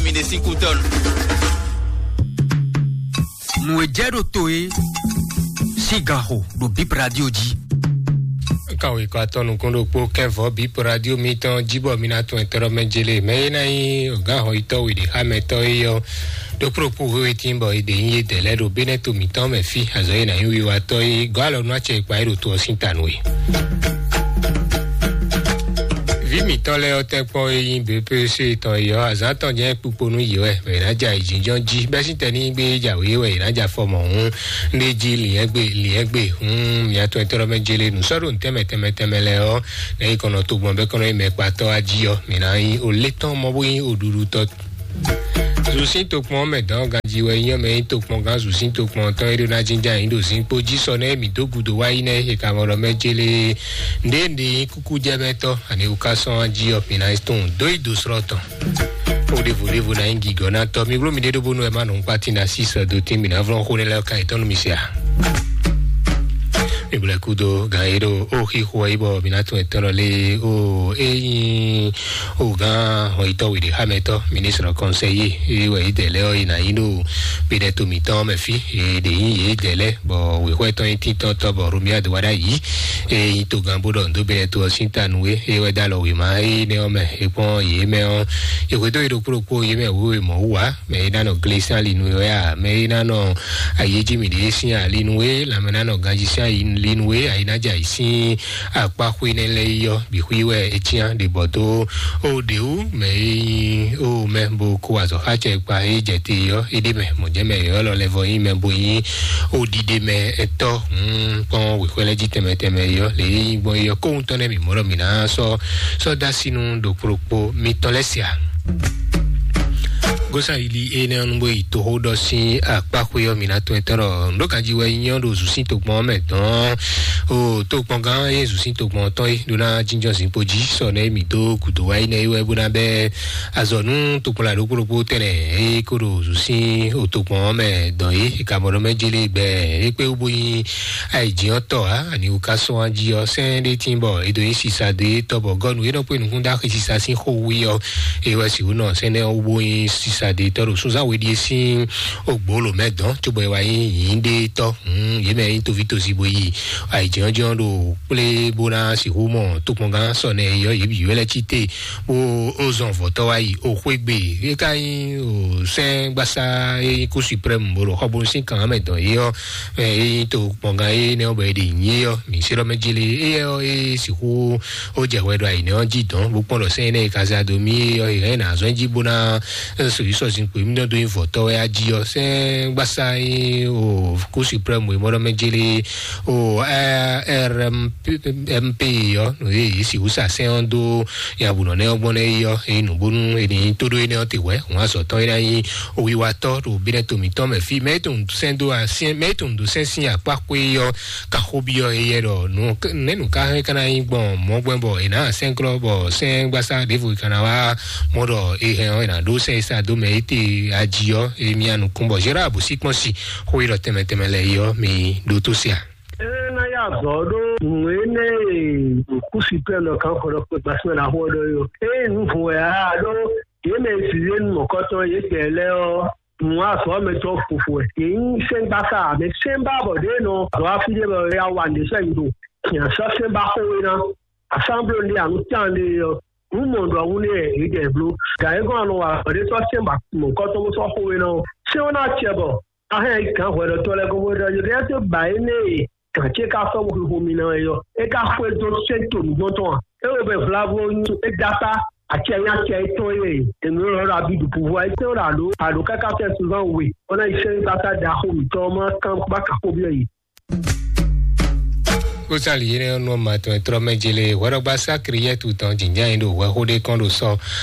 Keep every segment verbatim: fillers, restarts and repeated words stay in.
Mi ɖe sín kú tɔn. Nǔ e jɛ ɖo to e sín gan xo ɖo Bip Radio jí. Kan wěkɔ atɔ́ nukún ɖokpó kɛ́nvɔ́ Bip Radio mitɔn jí bɔ mi ná tún ɛtɔ́ mɛ jélé mɛ é ná nyí gǎn xɔyítɔ́ we ɖě xá mɛtɔ́ é yɔ ɖó kplɔ́kpó wéwé tín bɔ è ɖe nyí yědɛɛ lɛ́ɛ ɖo Benɛ́to mǐtɔn mɛ fí azɔ̌ e ná nyí wiwatɔ́ é gɔ́ alɔ nú acɛ e kpa é ɖo to ɔ́ sín ta nú we. Vǐ mǐtɔn lɛ́ɛ ɔ́ tɛ́nkpɔ́n e nyí B P C tɔn é ɔ́, azǎn tɔn jɛ́n kpukpo nú yě wɛ, mɛ è nǎ ja ayǐjínjɔ́n jí, bɛ́ sín tɛnígbe e jǎwe é wɛ è nǎ ja fɔ mɔ̌ hǔn, ɖé jí lǐnyɛ́gbe lǐnyɛ́gbe hǔn, mǐtɔn e tɔ́ mɛ jélé nǔ sɔ́ ɖo nǔtɛ́mɛ tɛnmɛ tɛnmɛ lɛ́ɛ ɔ́, nɛ̌ yi kɔn nɔ togbɔn bɛ́ kɔn nɔ nyí mɛkpatɔ́ wá jí ɔ́, mǐ ná nyí o létɔn mɔ bó nyí o ɖuɖutɔ́. Zǔsín tokpɔn ɔ́ mɛ dɔn ganjí wɛ nyí ɔ́ mɛ nyí tokpɔngán zǔsín tokpɔn tɔn e ɖó ná jínjɔ́n ayǐ ɖo zinkpo jí sɔ nɛ́ mǐ dó gúdo wá yi nɛ́ e ka mɔ ɖɔ mɛ jélé. Nǔɖé nǔɖé nyí kúkú jɛ mɛ tɔn ani wú ká sɔ́n jí ɔ́ mǐ ná tunwun dó yi dó srɔ́ tɔn. Kó ɖěvo ɖěvo ná nyí gǐgɔ́ ná tɔ́ mi bló mi ɖé ɖó bónú wɛ má nɔ ŋkpá tín ná sí sɔ dó tín mǐ ná vlɔ́n xó nɛ́ lɛ́ɛ ká yi tɔn nú mi se a. Mi blɛ kúdo gǎn e ɖo ó xixo ɔ́ yi bɔ mǐ ná tunwun ɛtɔ́ lɔ lé ó é nyí Ogán hɔnyitɔ́ wěɖéxámɛtɔ́, ministre conseiller, é wɛ yě dɛ lɛ́ɛ ɔ́, yě ná nyí ɖo Benɛto mǐtɔn mɛ fí, yě ɖě nyí yě dɛ lɛ́ɛ, bɔ wěxwɛ́ tɔn nyí títɔ́tɔ́, bɔ Romia do wá ɖ'ayǐ, é nyí togán bó ɖɔ nǔ dó Benɛto ɔ́ sín ta nú é, é wɛ dó alɔ wěma énɛ́ ɔ́ mɛ, é kpɔ́n yě mɛ ɔ́, yě xwedó yě ɖokpó ɖokpó, yě mɛ wěwe mɔ̌ wú ǎ, mɛ é ná nɔ gle sín ali nú é wɛ a, mɛ é ná nɔ ayǐjí mǐɖée sín ali nú é, lanmɛ ná nɔ ganjí sín ali nú é, ayǐ ná jɛ ayǐ sín akpá xwé nɛ́ lɛ́ɛ yi ɔ́, bǐ xwí wɛ é cyán ɖě bɔ dó ó ɖě wú mɛ e nyí ó mɛ bó kó azɔ̌ xá acɛ kpa é jɛ te ɔ́, é ɖ'é mɛ mɔ̌ jɛ́n mɛ yɔ̌yɔ́ lɔ lɛ́ vɔ nyí mɛ bó nyí ó ɖiɖe mɛ ɛtɔ́ hun kpɔ́n wěxwɛ́ lɛ́ɛ jí tɛnmɛ tɛnmɛ é ɔ́, lě e nyí gbɔn é ɔ́, kóhun tɔn nɛ́ mǐ mɔ ɖɔ mǐ ná sɔ́ sɔ́ dó así nú ɖo kplokpó mitɔn lɛ́ɛ se a? Gósayili énɛ́ ɔ́ nú bó yi toxóɖɔ sín akpáxwé ɔ́, mi ná tunwun etɔ́ ɖɔ nǔ ɖó ganjí wɛ nyí ɔ́ ɖo zǔsín togbɔn ɔ́ mɛ dɔn. O tokpɔngán e zǔsín togbɔn ɔ́ tɔn é ɖó ná jínjɔ́n zinkpo jí sɔ nɛ́ mǐ dó gǔdo wá yi nɛ́ é wɛ bó ná bɛ́ azɔ̌ nú tokpɔnla ɖokpó ɖokpó tɛnɛ e kó ɖo zǔsín o tokpɔn ɔ́ mɛ dɔn é. È ka mɔ ɖɔ mɛ jélé gbɛ é kpé wú bó nyí ayǐjínɔtɔ́ ǎ, ani wú ká sɔ́ wá jí ɔ́, sɛ́n ɖé tín bɔ è dǒ nyi sisa dó é tɔ́ bɔ gɔ́nu é nɔ kpé nukún dó axi sisa sín xó wú é ɔ́, é wɛ sixú nɔ sɛ́n nɛ́ wú bó nyí sisa dó é tɔ́ ɖo súnzán we ɖíe sín ogbolo mɛ dɔn, cóbɔ é wá nyí yǐndétɔ́. Yě mɛ nyí toví tosi bó yi ayǐjínjɔ́n ɖo kplé bó ná sixú mɔ tokpɔngán sɔ nɛ é ɔ́, yě bǐ wɛ lɛ́ cí te bó ó zɔn vɔ̌tɔ́ wá yi o xwé gbe. É ka nyí o sɛ́n gbásá e nyí kú suprême bó ɖo xɔbonu sín kan mɛ dɔn é ɔ́, ɛ, é nyí to kpɔngán é nɛ́ ɔ́ bɔ è ɖe nyí é ɔ́, mǐ sé ɖɔ mɛ jélé é ɔ́ é sixú ó jɛ hwɛ ɖo ayǐ nɛ́ ɔ́ jí dɔn bó kpɔ́n ɖɔ sɛ́n énɛ́ e ka zɛ ado mì é ɔ́, è hɛn ná zɔ́n jí bó ná sɔ yi sɔ zinkpo mì dó nyí vɔ̌tɔ́ wɛ á jí ɔ́, sɛ́n gbásá é o kú suprême e mɔ ɖɔ mɛ jélé o ɛ, R M P, M P ɔ́, nǔ e yě sixú sa sɛ́n ɔ́ dó ya bǔ nɔ nɛ́ ɔ́ gbɔn nɛ́ é ɔ́, é nǔ bónú è nǐ tó ɖó énɛ́ ɔ́ te hwɛ̌, hǔn azɔ̌ tɔn é ná nyí wiwatɔ́ ɖo bínɛ́ to mǐtɔn mɛ fí. Mɛ é tunwun sɛ́n dó asɛ́n, mɛ é tunwun dó sɛ́n sín akpá xwé ɔ́, ka xó byɔ́ éyɛ́ ɖɔ nǔ nɛ́ nǔ ka hɛn ka ná nyí gbɔn mɔ̌ gbɛn bɔ è nǎ sɛ́nklɔ́ bɔ sɛ́n gbásá ɖěvo è ka ná wá mɔ ɖɔ è hɛn ɔ́, è nǎ ɖó sɛ́n e sa dó mɛ é te ají ɔ́, é myá nukún bɔ Gérard Bosíkpɔ́n si xó e ɖɔ tɛnmɛ tɛnmɛ lɛ́ɛ é ɔ́, mi ɖótó se a? Ena ya zɔ ɖo nǔ énɛ́ e kúsi pɛ́ nɔ kan xɔ ɖɔ kpé gbasímɛ ná xɔ ɖɔ yɔ. Eye nǔ vun wɛ a ɖó yě mɛ zǐzé nu mɔ̌kɔtɔn yě gbɛ lɛ́ɛ ɔ́, nǔ azɔ̌ mɛ tɔn fofo wɛ. Yě nyí sɛ́ngbása mɛ sɛ́nbá bɔ ɖě nɔ azɔ̌ afi ɖé bɔ ya wa nǔ sɛ́ nyi ɖo. Nya sɔ́ sɛ́nbá xó we ná. Asámbló ɖé anu tán ɖé ɔ́, nǔ mɔ ɖɔ wú nɛ yě ɖɛ bló. Gǎ é gɔ́n anɔ wa ɖě sɔ́ sɛ́nbá mɔ̌kɔtɔn bó sɔ́ xó we ná ɔ́. Sɛ́n ɔ́ ná acɛ bɔ Ahɛn gǎn hwɛɖɔtɔ́ lɛ́ɛ gɔ́ bó ɖɔ yě ɖɔ étɛ́ ba énɛ́ e gǎn ce ka sɔ́ xixo mi ná wɛ ɔ́, é ka xwedó sɛ́n to nǔgbɔ́ntɔn a? É wo bɛ vlavo nyi é dó akpá acɛ nyí acɛ étɔn e è nǔ lɔ ɖo abi ɖu pouvoir étɛn ɖo àɖó àɖó káká fɛ́ sunzán we, bó ná yi sɛ́n gbáta ɖaxó mǐtɔn ɔ́ má kán bá kǎ xó byɔ́ yě. Kósali yé nɔ ma tɔn trɔ mɛ jele hwɛɖɔgba sakri yɛ tu tɔn jinjɛn yi ɖo hwɛxó ɖé kɔn ɖo sɔ.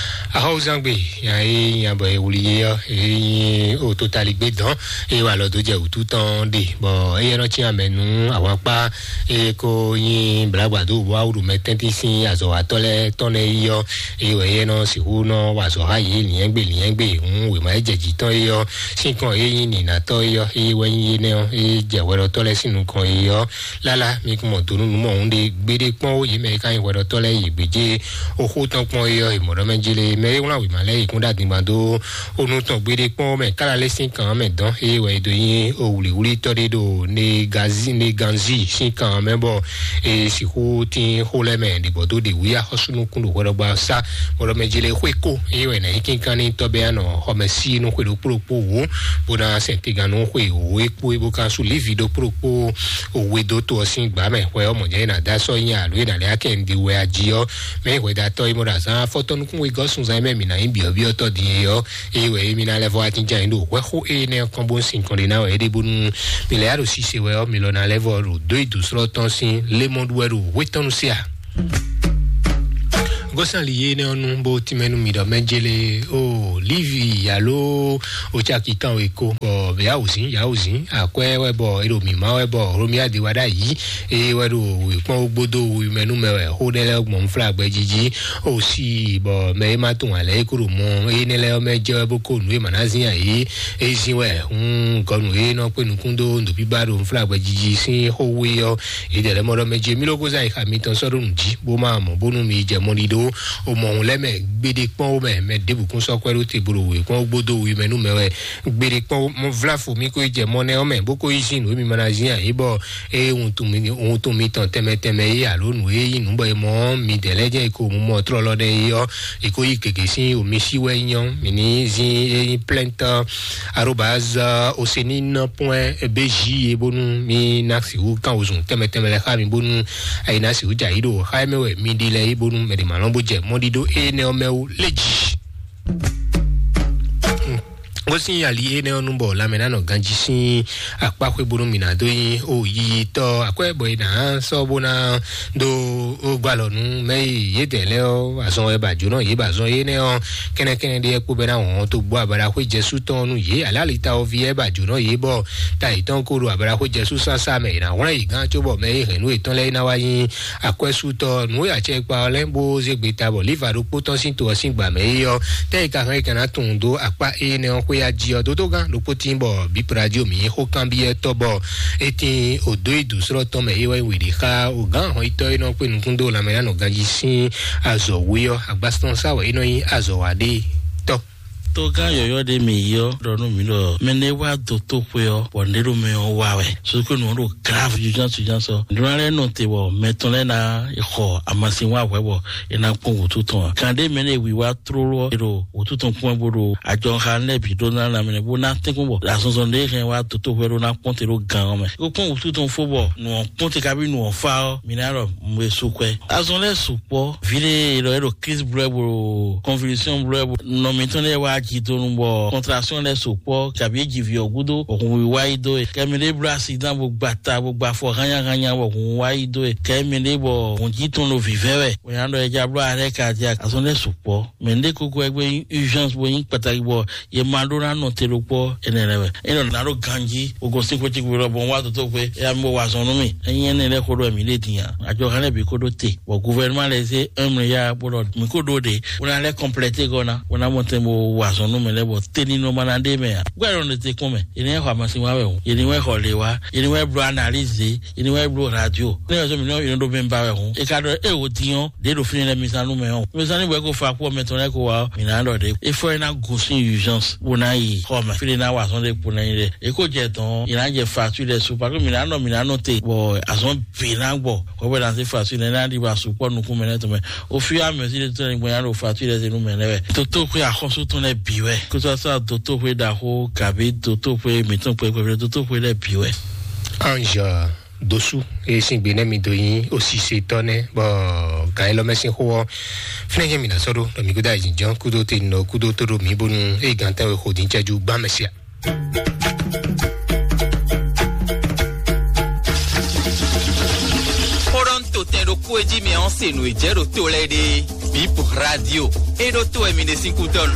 Axɔwúzangbe nya yi nya bɔ ewuli yé ɔ́, eyi o totali gbé dɔn eye wà lɔ dó jɛ wǔtu tɔn ɖe bɔ eye nɔ cí amɛ nú awakpa eye ko nyi blagbado bɔ awu ɖo mɛ tɛntin sín azɔwatɔ lɛ tɔn nɛ yi ɔ́, eye wɛ eye nɔ sixú nɔ wa azɔ ha yě liɛngbe liɛngbe hun wema e jɛ jǐ tɔn yi ɔ́, sín kɔn eye nyi ninatɔ yi ɔ́, eye wɛ nyi yé nɛ ɔ́, eye jɛ hwɛɖɔtɔ lɛ sín nukɔn yi ɔ́, lala mi kún mɔ donu nú mɔ òun ɖe gbeɖé kpɔ́n ó, yě mɛ e ka nyí hwɛɖɔtɔ́ lɛ́ɛ yi gbějé oxó tɔn kpɔ́n é ɔ́, è mɔ ɖɔ mɛ jele mɛ e wlán wěma lɛ́ɛ yi kún ɖo adingban dó onú tɔn gbeɖé kpɔ́n ó mɛ kála lɛ́ sín kan ɔ́ mɛ dɔn, eye wɛ è dó nyí owlǐwlítɔ́ ɖé ɖo Negazi Neganzi sín kan ɔ́ mɛ, bɔ è sixú tín xó lɛ́ɛ mɛ ɖě bɔ dó ɖe wǔ yi axɔ́súnukún ɖo hwɛɖɔgba sá, bɔ ɖɔ mɛ jele xwé kó, eye wɛ è nǎ nyí kínkan n'i tɔ́ bɛ́ anɔ xɔmɛ sí nú xwe ɖokpó ɖokpó wǒ, bó ná sɛn tegan nú xwe wǒ é kpó é bó ka sú lívi ɖokpó ɖokpó òwe dó to ɔ́ sín gbǎ mɛ. Hwɛ ɔ́, mɔ̌ jɛ́n é ná dó asɔ́ nyi alo é ná lɛ́ akɛ un ɖi wɛ ají ɔ́, mɛ hwɛdátɔ́ e mɔ ɖo azǎn afɔtɔ́ nukún wegɔ́ sunzán e mɛ mǐ ná nyí byɔ̌byɔ́tɔ́ din é ɔ́, eye wɛ émí ná lɛ́ vɔ́ wá jínjɔ́n ayǐ ɖo hwɛ́xó énɛ́ ɔ́ kɔn bó sín kɔn ɖé ná wɛ é ɖe bónú mi lɛ́ yá ɖo sise wɛ ɔ́, mi lɔ ná lɛ́ vɔ́ ɖo dó yi dǒsrɔ́ tɔn sín lémɔɖu wɛ ɖo hwé tɔn nu sí a? Gosali ye nɛ ɔnu bo timɛnu mi dɔ mɛ jele o livi alo o caki kan we ko bɔ yawuzin yawuzin akwɛ wɛ bɔ eɖo mi ma wɛ bɔ romia de wa ɖa yi eye wɛ ɖo wekpɔn gbodo wu mɛ nu mɛ wɛ xo ɖe lɛ gbɔn fla gbɛ jiji o si bɔ mɛ e ma tun alɛ e ko ɖo mɔ eye ne lɛ mɛ jɛ wɛ bo ko nu e ma na zin ayi e zin wɛ hun gɔnu e nɔ kpe nukun do ndo biba ɖo fla gbɛ jiji sin xo we yɔ. Yi ɖe lɛ mɔ ɖɔ mɛ jí mi ló kó zá yi xa mitɔn sɔ́ ɖo nǔ jí bó má mɔ bónú mi jɛ mɔ ɖiɖó o mɔ òun lɛ́ mɛ gbeɖé kpɔ́n ó mɛ mɛ ɖěbǔ kún sɔ́ kwɛ́ ɖó te bó ɖo wě kpɔ́n gbódó wi mɛ nú mɛ wɛ gbeɖé kpɔ́n mɔ vlá fo mi kó yi jɛ mɔ nɛ́ ɔ́ mɛ bó kó yi zín nǔ e mi ma ná zín ǎ é bɔ eye wuntun mi wuntun mitɔn tɛnmɛ tɛnmɛ é alo nǔ e nyí nǔ bɔ è mɔ ɔ́ mi dɛ̌ lɛ́ jẹ́ è ko mɔ tlɔlɔ ɖɛ é ɔ́ è ko yi gěgé sín omi sí wɛ nyɔ́ mi ní zín é nyí plɛ́ntɔ́ arobase osenin point bj ye bónú mi ná sixú kán wozun tɛnmɛ tɛnmɛ lɛ xá mi bónú ayi ná sixú dza yi ɖo xá mɛ wɛ mi ɖi lɛ yi bónú mɛ ɖe ma lɔn bó jɛ mɔɖiɖo énɛ́ ɔ́ mɛ wú lé jǐ. Ó sín ali énɛ́ ɔ́ nú bɔ lanmɛ ná nɔ ganjí sín akpá xwé bónú mi ná dó nyi o yiyitɔ akwɛ́ bɔ è nǎ sɔ́ bó ná dó ó gbá lɔ nú mɛ e yědɛɛ lɛ́ɛ ɔ́ azɔn wɛ ba jǒnɔ yě ba azɔn énɛ́ ɔ́ kɛnɛkɛnɛ ɖé kpó bɛ́ ná wɔn tó gbɔ abaɖaxwé jɛsú tɔn nú yě alé alita ɔ́ ví ɛ ba jǒnɔ yě bɔ ta yětɔn ko ɖo abaɖaxwé jɛsú sásá mɛ è nǎ hwlɛ́n yě gán cóbɔ mɛ e hɛ̌nnu yětɔn lɛ́ɛ é ná wá nyí akwɛ́sútɔ́ nǔ e acɛkpa ɔ́ lɛ́ bó zé gbeta bɔ líva ɖokpó tɔn sín to ɔ́ sín gbǎ mɛ é ɔ́ tɛ́ e ka hɛn é ka ná tunwun dó akpá énɛ́ ɔ́ xwé ají ɔ́ dódó gán ɖokpó tín bɔ bíprádio mǐ xó kanbyɔ́ tɔ́ bɔ é tín òdó e dǒsrɔ́ tɔn mɛ é wɛ wěɖé xá ògán ahɔnyitɔ́ e nɔ kpé nukún dó lanmɛ ná nɔ ganjí sín azɔ̌ wé ɔ́ agbásítɔn sá wɛ é nɔ nyí azɔ̌ wa ɖé tɔ́. Togán yɔ̌yɔ́ ɖé mǐ yi ɔ́ ɖɔ nú mǐ ɖɔ mɛ nɛ wá dó tó xwe ɔ́ bɔ nɖé ɖo mɛ ɔ́ wa wɛ sókè nǔ ɖo grave juján suján sɔ nǔɖó lɛ́ɛ nɔ te bɔ mɛ tɔn lɛ́ɛ ná xɔ amasin wá hwɛ bɔ é ná kpɔ́n wǔtu tɔn ǎ. Gǎn ɖé mɛ nɛ wǐwá tlóló ɔ́ è ɖo wǔtu tɔn kpɔ́n bó ɖo ajɔxa lɛ́ɛ bǐ ɖó ná lanmɛ bó ná tɛ́nkpɔ́n bɔ azɔnzɔn ɖé hɛn wá dó tó xwe ɖó ná kpɔ́n te ɖó gǎn ɔ́ mɛ. É kó kpɔ́n wǔtu tɔn fó bɔ nǔ ɔ́ kpɔ́n te kabi nǔ ɔ́ fá ɔ́ mǐ ná ɖɔ mɔ è sú kwɛ. Azɔn lɛ́ɛ sukpɔ́ vǐɖé e ɖɔ é ɖo crise blɛ́ bó convulsion blɛ́ bó nɔ mǐtɔn lɛ́ɛ wá jidonu bɔ contraction lɛ́ɛ sukpɔ́ kabi é ji vǐ ɔ́ gúdo bɔ hun wá yi dó e kɛ mǐ ɖé bló accident bó gba ta bó gba afɔ hányáhányá bɔ hun wá yi dó e kɛ mǐ ɖé bɔ hun jí tɔn ɖo vǐvɛ́ wɛ bɔ nya ɖɔ é já bló arrêt cardiaque azɔn lɛ́ɛ sukpɔ́ mɛ ɖé kókó wɛ gbé nyí urgence bó nyí kpataki bɔ ye ma ɖó ná nɔ te ɖokpɔ ɛnɛ lɛ wɛ. Enɔ ná ɖo ganji o gosín xwé tí kúrò bɔ wá tó tó xwé ya mi bó wá zɔn nú mi. Enyi ɛnɛ lɛ xó ɖo mi lé din ya. Àjọ kan lɛ bi kó ɖó te. Bɔ gouvernement lɛ zé un milliard bó ɖɔ mi kó ɖó ɖe. Bó ná lɛ complète gɔ ná. Bó ná mɔ tɛn bó wá zɔn nú mi lɛ bɔ teni nɔ ma ná ɖe mɛ ya. Gbɛ lɔ ne te kún mɛ. Yeni wɛ xɔ amasi wa wɛ o. Yeni wɛ xɔ le wa. Yeni wɛ bló analyse. Yeni wɛ bló radio. Ne yɛ sɔ mi nɔ yeni ɖo mi ba wɛ o. E ka ɖɔ e o diɲɔ. Ɖe ɖo fínɛ́ lɛ́ɛ mizan nú mɛ ɔ́. Mizan ní bɔ é ko fa kú ɔmɛ tɔn lɛ́ɛ ko wá ɔ́, mǐ ná ɖɔ ɖě. É fɔ é ná gosín urgence bó ná yi xɔ mɛ. Fí ɖé ná wa azɔn ɖé kpo ná nyi ɖe. É ko jɛ dɔn, è nǎ jɛ facture lɛ́ɛ su. Parce que mǐ ná nɔ, mǐ ná nɔ te, bɔ azɔn bǐ ná gbɔ. Hwɛ̌ bɔ è nǎ zé facture lɛ́ɛ ná ɖi ba sukpɔ́ nukún mɛ lɛ́ɛ tɔn mɛ. Au fur et à mesure de temps, è gbɔn ná ɖo facture lɛ́ɛ zé nú mɛ lɛ́ɛ wɛ. Dotóxwé axɔ́sú tɔn lɛ́ɛ bǐ wɛ. Kó sɔ́ sɔ́ dotóxwé ɖaxó kabi dotóxwé mǐtɔn kpɛkpɛ dotóxwé lɛ́ɛ bǐ wɛ. Ange dosu eye sín gbe nɛ mi do nyi osise tɔ nɛ bɔ gan yi lɔ mɛ sin xo ɔ fínɛ yẹn mi na sɔ ɖo ɖɔ mi kudo ayi jɔn kudo te nɔ kudo to ɖo mi bonu eye gan tɛ wɛ xo din cɛju gbã mɛ sia. Xó ɖɔ ń to tɛn ɖokpó e jí mi ɔ́ se nǔ e jɛ ɖo to lɛ́ɛ ɖe. Bip radio e ɖo to wɛ mi ɖe sín kútɔ́nu.